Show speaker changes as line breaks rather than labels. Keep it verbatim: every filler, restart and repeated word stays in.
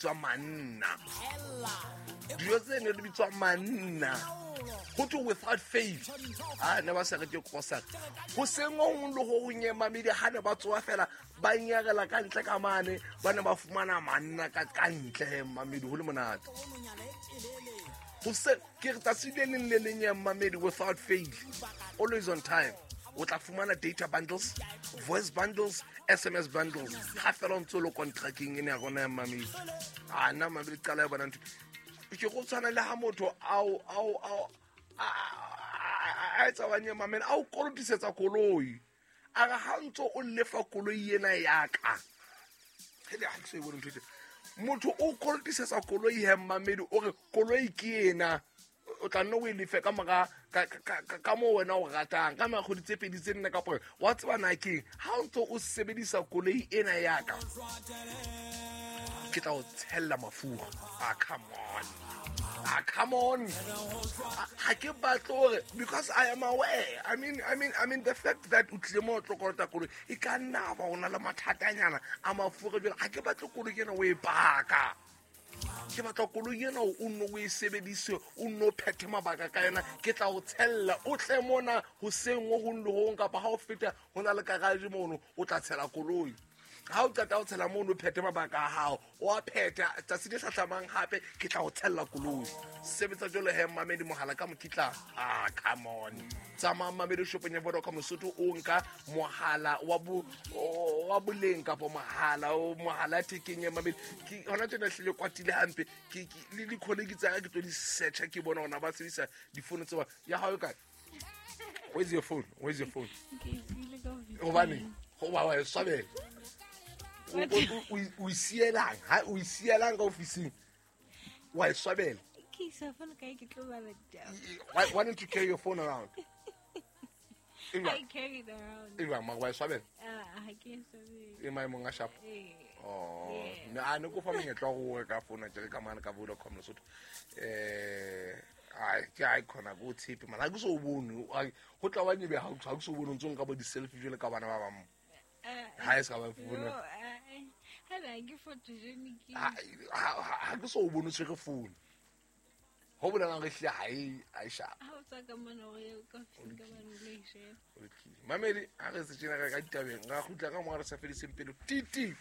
Bitswa manna, dijo tse ne di bitswa manna, go thwe without fail. A ne ba sa reke grocery go seng gong le go gong, mamedi. Ga ne ba tsoa fela ba nyarela ka ntle ka mane, ba ne ba fumana manna ka ka ntle, mamedi, go le monate. Go se ke re tsatsi le leng le leng ya, mamedi, without fail, always on time, o tla fumana data bundles, voice bundles, S M S bundles, ga fela o ntse o le contracting ene ya rona ya, mamedi. A nna, mamedi, qala ya bona ntho ke go tshwana le ha motho ao ao ao a etsa wanye, mamedi, a o kolotisetsa koloi, a re ha ntse o lefa koloi ena yaka. Hele, ha ke so e bone ntho e tje. Motho o kolotisetsa koloi he, mamedi, o re koloi ke ena, o tla nne o e lefe ka mora ka- ka ka- ka moo wena o ratang, ka mora kgwedi tse pedi, tse nne, kapo wa tseba na keng, ha o ntse o sebedisa koloi ena yaka, ke tla o tshella mafura. Ah, come on, ah, come on. Ah, ha ke batle hore, because I am aware, i mean i mean i mean the fact that o tlile mo o tlo kolota koloi, e ka nna ba o na le mathatanyana a mafura. Jwale ha ke batle koloi ena o e paka, ke batla koloi ena o nne o e sebedise, o nne o phethe mabaka ka yona. Ke tla o tshella, o tle mona hoseng ho hong le hong, kapa ha o feta ho na le garage mono, o tla tshela koloi. Ha o qeta ho tshela mono, o phethe mabaka a hao, o a phetha, tsatsi le hlahlamang hape ke tla o tshella koloi. Sebetsa jalo he, mamedi, mohala ka mokitlana. Ah, come on. Tsamaya, mamedi, shopong ya Vodacom Lesotho, o nka mohala wa bo wa boleng kapa mohala o mohala thekeng ya, mamedi. Ke hona tjena hlile kwatile hampe ke ke- le di-colleague tsa ka, ke tlo di searcha, ke bona hona ba sebedisa difono tse ba ya hao e kae. Where's your phone? Where's your phone?
Ke e siile ka ofising.
Hobane goba wa e swabela. O- o- o o e sielang ha o e sielang ka ofising, wa e swabela.
Ke isa phone kae, ke tlo bala ditaba.
why, why don't you carry your phone around? E
I
jwang?
Carry it around.
E jwang mara wa e swabela?
Ah, ha ke e swabele.
E maemong a sharp.
Eh.
Oh.
Yeah.
Ne a ne ko fa monyetla wa go reka phone tjere ka mane ka Vodacom Lesotho. Eh, ai ke ai khona go tshepe man, ha ke so o bone. Ai, go tla wa nyebe, ha ha ke so o bone o ntso nka bo di-selfie jwale ka bana ba bang.
Ah,
Ha e se ka ba phone.
No, ah, eh, ha na ke photogenic.
Ha ha- ha ke so o bone o tshwere phone, ho bolelang re hlile ha e ha e sharp.
Ha o tswa ka mona o ye ka ofising ka mane, o lo e sheba.
Mamedi, ha re se tjena re ka ditabeng, ra kgutla ka mora re sa fediseng pelo titi.